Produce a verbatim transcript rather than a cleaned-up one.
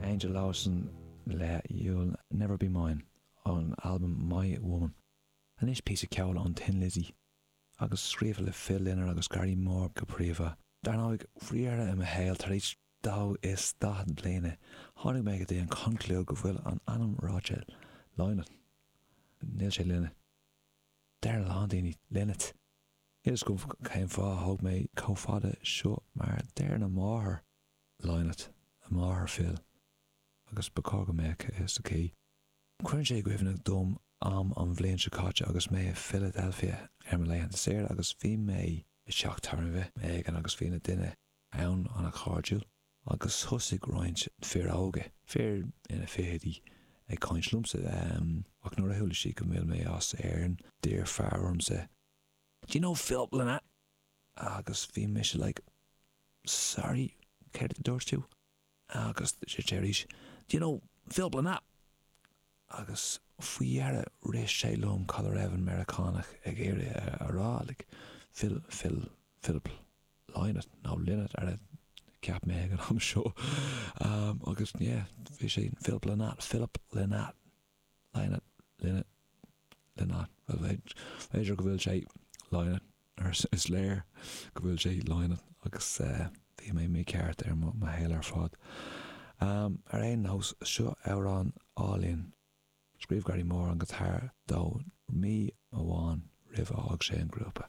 Angel Lawson le You'll Never Be Mine ón albam My Woman. Anois píosa ceoil ón Thin Lizzy agus scríofa le Phil Lynott agus Gary Moore go príomha. Dar ndóigh, faoi dheireadh i mo shaol tar éis dó is daichead bliana, tháinig mé go dtí an conclúid go bhfuil an ainm ráite Lynott. Níl sé Lynott. Deir a lán daoine Lynott. Níl a fhios agam cén fáth a thóg mé chomh fada seo mar deir a máthair Lynott, a máthair Phil, agus ba chóir go mbeadh a fhios aici. Cuireann sé i gcuimhne dom am an bhliain seo caite agus mé i Philadelphia ar mo laethanta saoire agus bhí mé i dteach tábhairne éigin agus bhí na daoine ann an-chairdiúil agus thosaigh roinnt fir óga, fir ina fichidí ag caint liomsa ach nuair a chuala siad go bhfuil mé as Éirinn d'iarr fear ormsa Do you know Philip Lynott? Agus bhí mise like sorry céard a dúirt tú? Agus sé arís Do you know Philip Lynott? Agus faoi dheireadh rith sé liom cad a raibh an Meiriceánach ag iarraidh a rá like Phil Phil Philip Lynott nó Lynott ar a cheap mé ag an am seo um, agus yeah, bhí sé Philip Lynott Philip Lynott Lynott Lynott Lynott b'fhéidir go bhfuil sé Lynott ar is léir go bhfuil sé Lynott agus uh, bhí mé mícheart ar mo shaol ar fad. Um, ar aon nós seo amhrán álainn Scríobh Gary Moore an guitar dó mí amháin roimh fhág sé an grúpa.